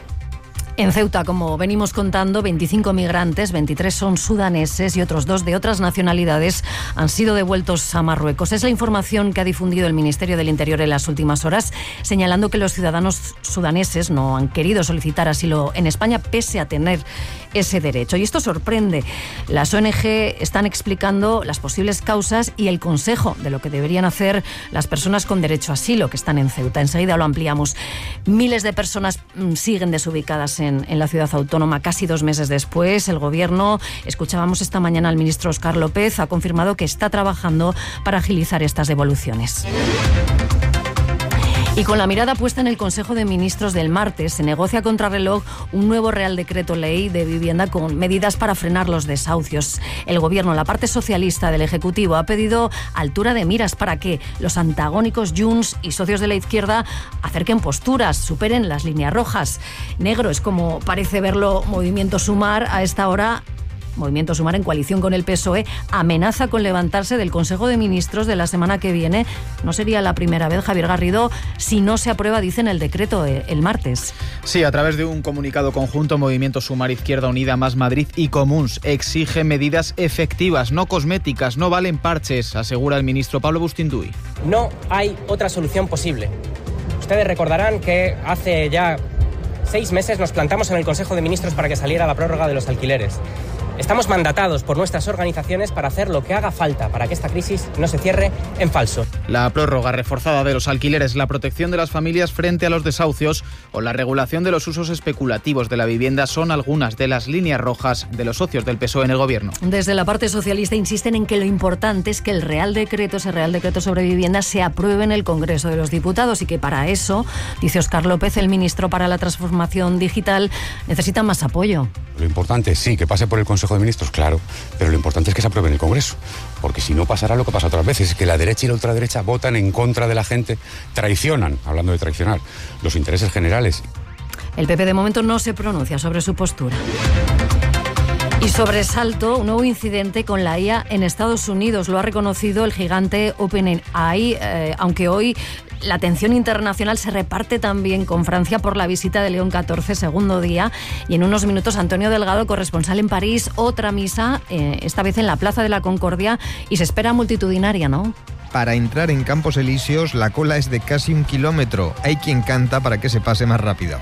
Speaker 3: En Ceuta, como venimos contando, veinticinco migrantes, veintitrés son sudaneses y otros dos de otras nacionalidades han sido devueltos a Marruecos. Es la información que ha difundido el Ministerio del Interior en las últimas horas, señalando que los ciudadanos sudaneses no han querido solicitar asilo en España pese a tener ese derecho. Y esto sorprende. Las O N G están explicando las posibles causas y el consejo de lo que deberían hacer las personas con derecho a asilo que están en Ceuta. Enseguida lo ampliamos. Miles de personas siguen desubicadas en En, en la ciudad autónoma casi dos meses después. El Gobierno, escuchábamos esta mañana al ministro Óscar López, ha confirmado que está trabajando para agilizar estas devoluciones. Y con la mirada puesta en el Consejo de Ministros del martes, se negocia a contrarreloj un nuevo Real Decreto Ley de vivienda con medidas para frenar los desahucios. El Gobierno, la parte socialista del Ejecutivo, ha pedido altura de miras para que los antagónicos Junts y socios de la izquierda acerquen posturas, superen las líneas rojas. Negro es como parece verlo Movimiento Sumar a esta hora. Movimiento Sumar, en coalición con el P S O E, amenaza con levantarse del Consejo de Ministros de la semana que viene. No sería la primera vez, Javier Garrido, si no se aprueba, dicen, el decreto el martes.
Speaker 26: Sí, a través de un comunicado conjunto, Movimiento Sumar, Izquierda Unida, Más Madrid y Comuns exige medidas efectivas, no cosméticas, no valen parches, asegura el ministro Pablo Bustinduy.
Speaker 27: No hay otra solución posible. Ustedes recordarán que hace ya seis meses nos plantamos en el Consejo de Ministros para que saliera la prórroga de los alquileres. Estamos mandatados por nuestras organizaciones para hacer lo que haga falta para que esta crisis no se cierre en falso.
Speaker 26: La prórroga reforzada de los alquileres, la protección de las familias frente a los desahucios o la regulación de los usos especulativos de la vivienda son algunas de las líneas rojas de los socios del P S O E en el Gobierno.
Speaker 3: Desde la parte socialista insisten en que lo importante es que el Real Decreto, ese Real Decreto sobre vivienda, se apruebe en el Congreso de los Diputados y que para eso, dice Óscar López, el ministro para la Transformación Digital, necesita más apoyo.
Speaker 28: Lo importante, sí, que pase por el Consejo de Ministros, claro, pero lo importante es que se apruebe en el Congreso, porque si no pasará lo que pasa otras veces, es que la derecha y la ultraderecha votan en contra de la gente, traicionan, hablando de traicionar, los intereses generales.
Speaker 3: El P P de momento no se pronuncia sobre su postura. Y sobresalto, un nuevo incidente con la I A en Estados Unidos. Lo ha reconocido el gigante OpenAI, eh, aunque hoy la atención internacional se reparte también con Francia por la visita de León catorce, segundo día. Y en unos minutos, Antonio Delgado, corresponsal en París, otra misa, eh, esta vez en la Plaza de la Concordia, y se espera multitudinaria, ¿no?
Speaker 4: Para entrar en Campos Elíseos, la cola es de casi un kilómetro. Hay quien canta para que se pase más rápido.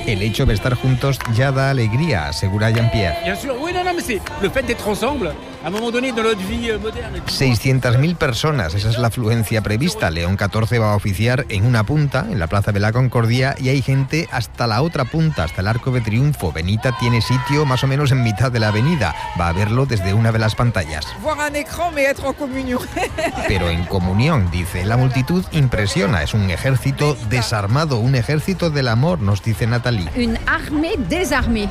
Speaker 4: El hecho de estar juntos ya da alegría, asegura Jean-Pierre. seiscientas mil personas, esa es la afluencia prevista. León catorce va a oficiar en una punta, en la Plaza de la Concordia, y hay gente hasta la otra punta, hasta el Arco de Triunfo. Benita tiene sitio más o menos en mitad de la avenida. Va a verlo desde una de las pantallas. Pero en comunión, dice. La multitud impresiona. Es un ejército desarmado, un ejército del amor, nos dice Natalie.
Speaker 5: Une armée désarmée.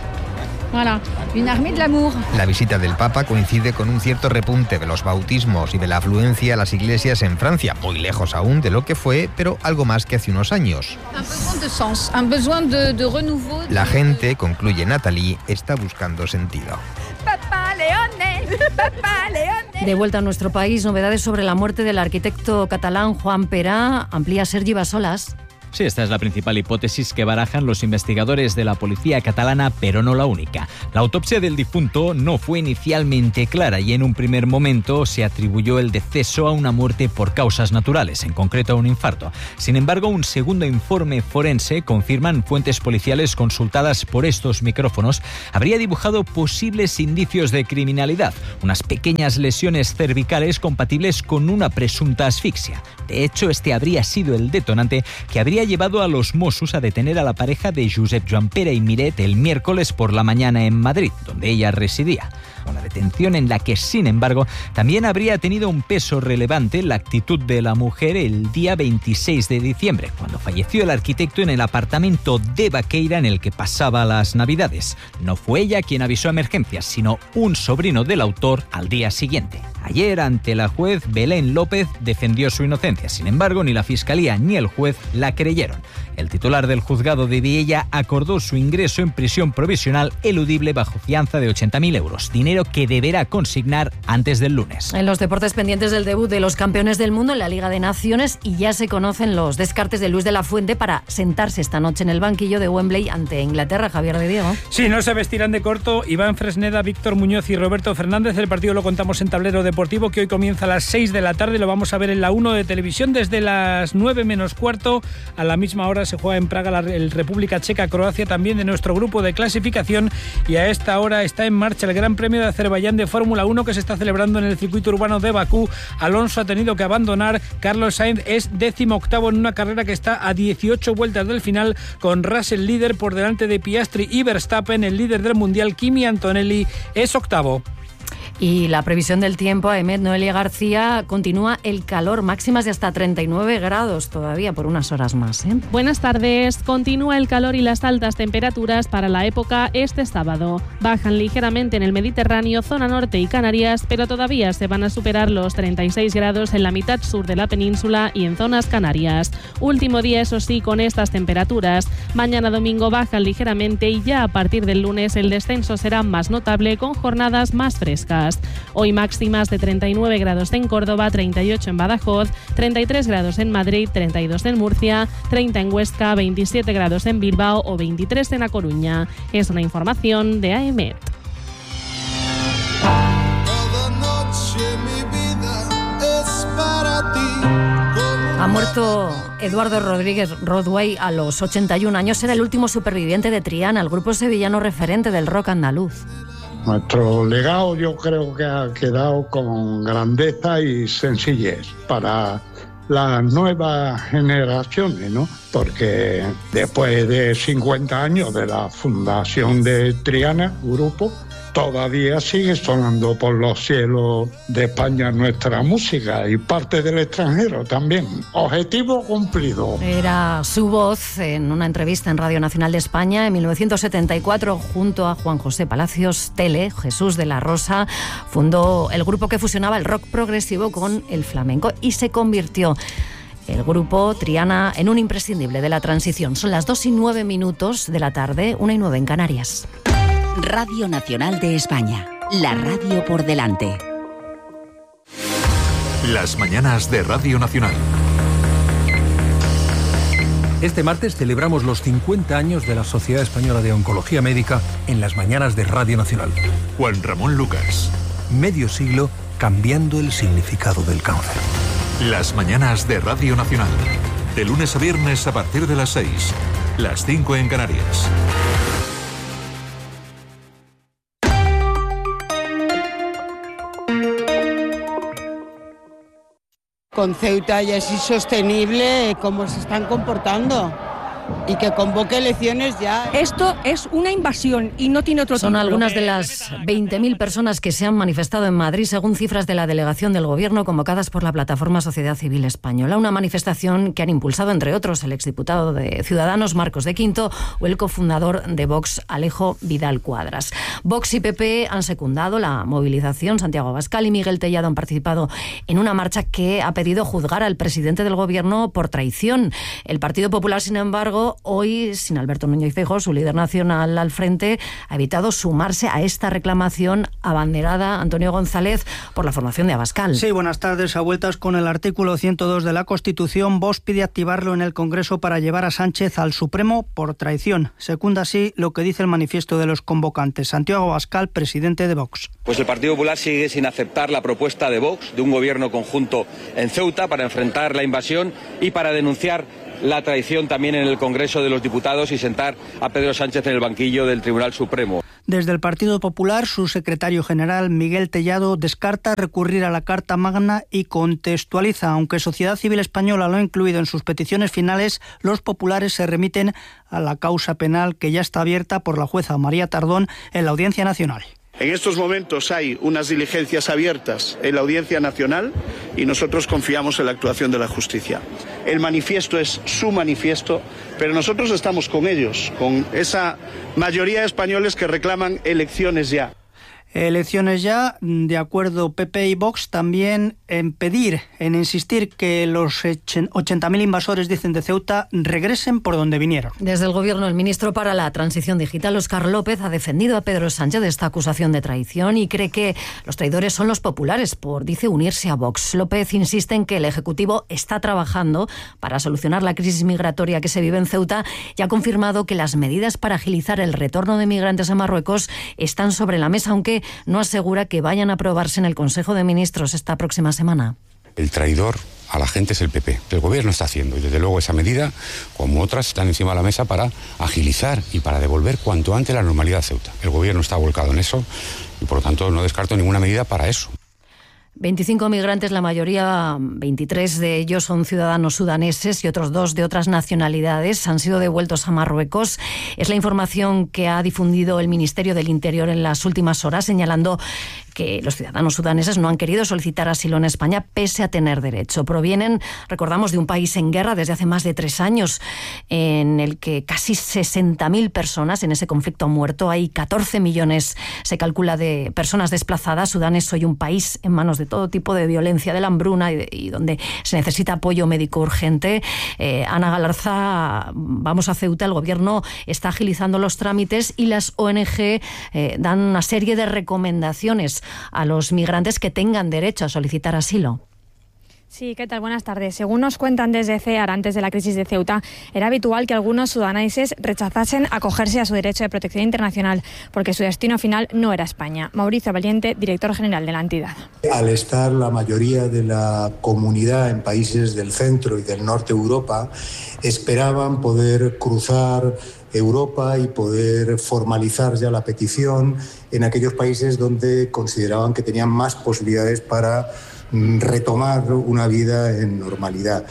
Speaker 5: Voilà, une armée de l'amour.
Speaker 4: La visita del Papa coincide con un cierto repunte de los bautismos y de la afluencia a las iglesias en Francia, muy lejos aún de lo que fue, pero algo más que hace unos años.
Speaker 5: Un besoin de sens, un besoin de, de renouveau.
Speaker 4: La gente, concluye Natalie, está buscando sentido.
Speaker 5: Papá Leone, papá Leone.
Speaker 3: De vuelta a nuestro país, novedades sobre la muerte del arquitecto catalán Juan Perá. Amplía Sergi Basolas.
Speaker 6: Sí, esta es la principal hipótesis que barajan los investigadores de la policía catalana, pero no la única. La autopsia del difunto no fue inicialmente clara y en un primer momento se atribuyó el deceso a una muerte por causas naturales, en concreto a un infarto. Sin embargo, un segundo informe forense, confirman fuentes policiales consultadas por estos micrófonos, habría dibujado posibles indicios de criminalidad, unas pequeñas lesiones cervicales compatibles con una presunta asfixia. De hecho, este habría sido el detonante que habría llevado a los Mossos a detener a la pareja de Josep Joan Pere y Miret el miércoles por la mañana en Madrid, donde ella residía. Una detención en la que, sin embargo, también habría tenido un peso relevante la actitud de la mujer el día veintiséis de diciembre, cuando falleció el arquitecto en el apartamento de Baqueira en el que pasaba las Navidades. No fue ella quien avisó a emergencias, sino un sobrino del autor al día siguiente. Ayer, ante la juez, Belén López defendió su inocencia. Sin embargo, ni la Fiscalía ni el juez la creyeron. El titular del juzgado de Viella acordó su ingreso en prisión provisional eludible bajo fianza de ochenta mil euros, dinero que deberá consignar antes del lunes.
Speaker 3: En los deportes, pendientes del debut de los campeones del mundo en la Liga de Naciones, y ya se conocen los descartes de Luis de la Fuente para sentarse esta noche en el banquillo de Wembley ante Inglaterra. Javier de Diego.
Speaker 7: Sí, no se vestirán de corto Iván Fresneda, Víctor Muñoz y Roberto Fernández. El partido lo contamos en Tablero Deportivo, que hoy comienza a las seis de la tarde. Lo vamos a ver en la uno de televisión desde las nueve menos cuarto. A la misma hora se juega en Praga la el República Checa-Croacia, también de nuestro grupo de clasificación, y a esta hora está en marcha el Gran Premio de Azerbaiyán de Fórmula uno, que se está celebrando en el circuito urbano de Bakú. Alonso ha tenido que abandonar. Carlos Sainz es décimo octavo en una carrera que está a dieciocho vueltas del final, con Russell líder por delante de Piastri y Verstappen. El líder del mundial, Kimi Antonelli, es octavo.
Speaker 3: Y la previsión del tiempo, Ahmed, Noelia García, continúa el calor, máximas de hasta treinta y nueve grados todavía por unas horas más, ¿eh?
Speaker 8: Buenas tardes. Continúa el calor y las altas temperaturas para la época este sábado. Bajan ligeramente en el Mediterráneo, zona norte y Canarias, pero todavía se van a superar los treinta y seis grados en la mitad sur de la península y en zonas canarias. Último día, eso sí, con estas temperaturas. Mañana domingo bajan ligeramente y ya a partir del lunes el descenso será más notable, con jornadas más frescas. Hoy máximas de treinta y nueve grados en Córdoba, treinta y ocho en Badajoz, treinta y tres grados en Madrid, treinta y dos en Murcia, treinta en Huesca, veintisiete grados en Bilbao o veintitrés en A Coruña. Es una información de A E M E T.
Speaker 3: Ha muerto Eduardo Rodríguez Rodway a los ochenta y un años. Era el último superviviente de Triana, el grupo sevillano referente del rock andaluz.
Speaker 9: Nuestro legado yo creo que ha quedado con grandeza y sencillez para las nuevas generaciones, ¿no? Porque después de cincuenta años de la fundación de Triana, grupo, todavía sigue sonando por los cielos de España nuestra música y parte del extranjero también. Objetivo cumplido.
Speaker 3: Era su voz en una entrevista en Radio Nacional de España en mil novecientos setenta y cuatro junto a Juan José Palacios Tele. Jesús de la Rosa fundó el grupo que fusionaba el rock progresivo con el flamenco y se convirtió el grupo Triana en un imprescindible de la transición. Son las dos y nueve minutos de la tarde, una y nueve en Canarias.
Speaker 1: Radio Nacional de España, la radio por delante.
Speaker 10: Las mañanas de Radio Nacional.
Speaker 11: Este martes celebramos los cincuenta años de la Sociedad Española de Oncología Médica en las mañanas de Radio Nacional.
Speaker 10: Juan Ramón Lucas.
Speaker 11: Medio siglo cambiando el significado del cáncer.
Speaker 10: Las mañanas de Radio Nacional. De lunes a viernes a partir de las seis. Las cinco en Canarias.
Speaker 12: Con Ceuta ya es insostenible cómo se están comportando y que convoque elecciones ya.
Speaker 23: Esto es una invasión y no tiene otro
Speaker 3: Son
Speaker 23: título.
Speaker 3: algunas de las veinte mil personas que se han manifestado en Madrid, según cifras de la delegación del Gobierno convocadas por la plataforma Sociedad Civil Española. Una manifestación que han impulsado, entre otros, el exdiputado de Ciudadanos, Marcos de Quinto, o el cofundador de Vox, Alejo Vidal Cuadras. Vox y P P han secundado la movilización. Santiago Abascal y Miguel Tellado han participado en una marcha que ha pedido juzgar al presidente del Gobierno por traición. El Partido Popular, sin embargo, hoy, sin Alberto Núñez Feijóo, su líder nacional al frente, ha evitado sumarse a esta reclamación abanderada, Antonio González, por la formación de Abascal.
Speaker 13: Sí, buenas tardes. A vueltas con el artículo ciento dos de la Constitución, Vox pide activarlo en el Congreso para llevar a Sánchez al Supremo por traición. Secunda así lo que dice el manifiesto de los convocantes. Santiago Abascal, presidente de Vox.
Speaker 24: Pues el Partido Popular sigue sin aceptar la propuesta de Vox de un gobierno conjunto en Ceuta para enfrentar la invasión y para denunciar la traición también en el Congreso de los Diputados y sentar a Pedro Sánchez en el banquillo del Tribunal Supremo.
Speaker 13: Desde el Partido Popular, su secretario general, Miguel Tellado, descarta recurrir a la Carta Magna y contextualiza. Aunque Sociedad Civil Española lo ha incluido en sus peticiones finales, los populares se remiten a la causa penal que ya está abierta por la jueza María Tardón en la Audiencia Nacional.
Speaker 25: En estos momentos hay unas diligencias abiertas en la Audiencia Nacional y nosotros confiamos en la actuación de la justicia. El manifiesto es su manifiesto, pero nosotros estamos con ellos, con esa mayoría de españoles que reclaman elecciones ya.
Speaker 13: Elecciones ya, de acuerdo P P y Vox, también en pedir, en insistir que los ochenta mil invasores, dicen, de Ceuta regresen por donde vinieron.
Speaker 3: Desde el Gobierno, el ministro para la Transición Digital, Óscar López, ha defendido a Pedro Sánchez de esta acusación de traición y cree que los traidores son los populares por, dice, unirse a Vox. López insiste en que el Ejecutivo está trabajando para solucionar la crisis migratoria que se vive en Ceuta y ha confirmado que las medidas para agilizar el retorno de migrantes a Marruecos están sobre la mesa, aunque no asegura que vayan a aprobarse en el Consejo de Ministros esta próxima semana.
Speaker 28: El traidor a la gente es el P P. El gobierno está haciendo y desde luego esa medida, como otras, están encima de la mesa para agilizar y para devolver cuanto antes la normalidad a Ceuta. El gobierno está volcado en eso y por lo tanto no descarto ninguna medida para eso.
Speaker 3: veinticinco migrantes, la mayoría, veintitrés de ellos son ciudadanos sudaneses y otros dos de otras nacionalidades, han sido devueltos a Marruecos. Es la información que ha difundido el Ministerio del Interior en las últimas horas, señalando que los ciudadanos sudaneses no han querido solicitar asilo en España pese a tener derecho. Provienen, recordamos, de un país en guerra desde hace más de tres años, en el que casi sesenta mil personas en ese conflicto han muerto. Hay catorce millones, se calcula, de personas desplazadas. Sudán es hoy un país en manos de todo tipo de violencia, de la hambruna y, de, y donde se necesita apoyo médico urgente. Eh, Ana Galarza, vamos a Ceuta, el gobierno está agilizando los trámites y las O N G eh, dan una serie de recomendaciones a los migrantes que tengan derecho a solicitar asilo.
Speaker 14: Sí, ¿qué tal? Buenas tardes. Según nos cuentan desde CEAR, antes de la crisis de Ceuta, era habitual que algunos sudaneses rechazasen acogerse a su derecho de protección internacional porque su destino final no era España. Mauricio Valiente, director general de la entidad.
Speaker 15: Al estar la mayoría de la comunidad en países del centro y del norte de Europa, esperaban poder cruzar Europa y poder formalizar ya la petición en aquellos países donde consideraban que tenían más posibilidades para retomar una vida en normalidad.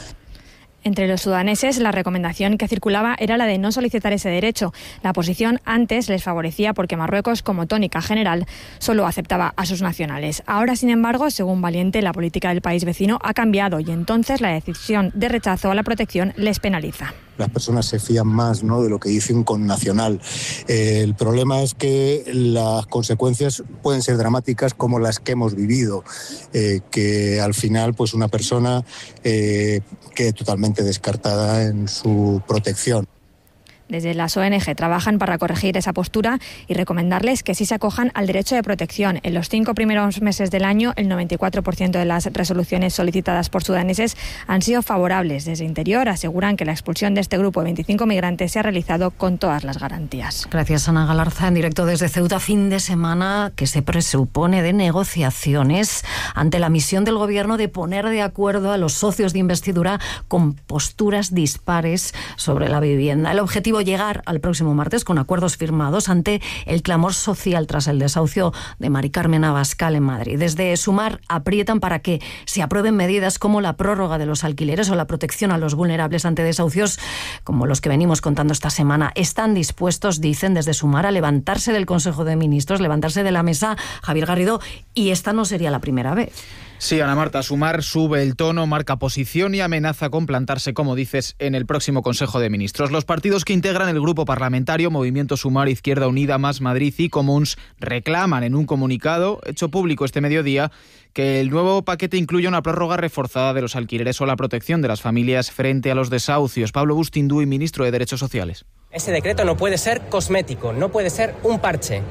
Speaker 14: Entre los sudaneses, la recomendación que circulaba era la de no solicitar ese derecho. La posición antes les favorecía porque Marruecos, como tónica general, solo aceptaba a sus nacionales. Ahora, sin embargo, según Valiente, la política del país vecino ha cambiado y entonces la decisión de rechazo a la protección les penaliza.
Speaker 15: las personas se fían más, ¿no?, de lo que dice un connacional. Eh, el problema es que las consecuencias pueden ser dramáticas como las que hemos vivido, eh, que al final pues una persona eh, quede totalmente descartada en su protección.
Speaker 14: Desde las O N G trabajan para corregir esa postura y recomendarles que sí se acojan al derecho de protección. En los cinco primeros meses del año, el noventa y cuatro por ciento de las resoluciones solicitadas por sudaneses han sido favorables. Desde Interior aseguran que la expulsión de este grupo de veinticinco migrantes se ha realizado con todas las garantías.
Speaker 3: Gracias, Ana Galarza. En directo desde Ceuta, fin de semana que se presupone de negociaciones ante la misión del Gobierno de poner de acuerdo a los socios de investidura con posturas dispares sobre la vivienda. El objetivo llegar al próximo martes con acuerdos firmados ante el clamor social tras el desahucio de Mari Carmen Abascal en Madrid. Desde Sumar aprietan para que se aprueben medidas como la prórroga de los alquileres o la protección a los vulnerables ante desahucios como los que venimos contando esta semana. Están dispuestos, dicen desde Sumar, a levantarse del Consejo de Ministros, levantarse de la mesa, Javier Garrido, y esta no sería la primera vez.
Speaker 26: Sí, Ana Marta, Sumar sube el tono, marca posición y amenaza con plantarse, como dices, en el próximo Consejo de Ministros. Los partidos que integran el grupo parlamentario, Movimiento Sumar, Izquierda Unida, Más Madrid y Comuns, reclaman en un comunicado hecho público este mediodía que el nuevo paquete incluya una prórroga reforzada de los alquileres o la protección de las familias frente a los desahucios. Pablo Bustinduy, ministro de Derechos Sociales.
Speaker 27: Ese decreto no puede ser cosmético, no puede ser un parche.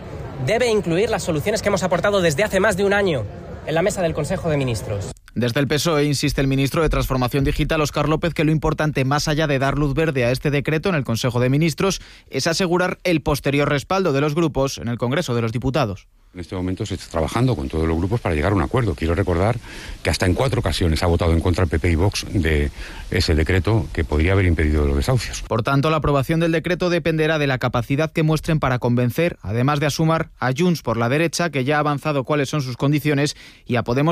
Speaker 27: Debe incluir las soluciones que hemos aportado desde hace más de un año en la mesa del Consejo de Ministros.
Speaker 26: Desde el P S O E insiste el ministro de Transformación Digital, Óscar López, que lo importante, más allá de dar luz verde a este decreto en el Consejo de Ministros, es asegurar el posterior respaldo de los grupos en el Congreso de los Diputados.
Speaker 28: En este momento se está trabajando con todos los grupos para llegar a un acuerdo. Quiero recordar que hasta en cuatro ocasiones ha votado en contra el P P y Vox de ese decreto que podría haber impedido los desahucios.
Speaker 26: Por tanto, la aprobación del decreto dependerá de la capacidad que muestren para convencer, además de a Sumar, a Junts por la derecha, que ya ha avanzado cuáles son sus condiciones, y a Podemos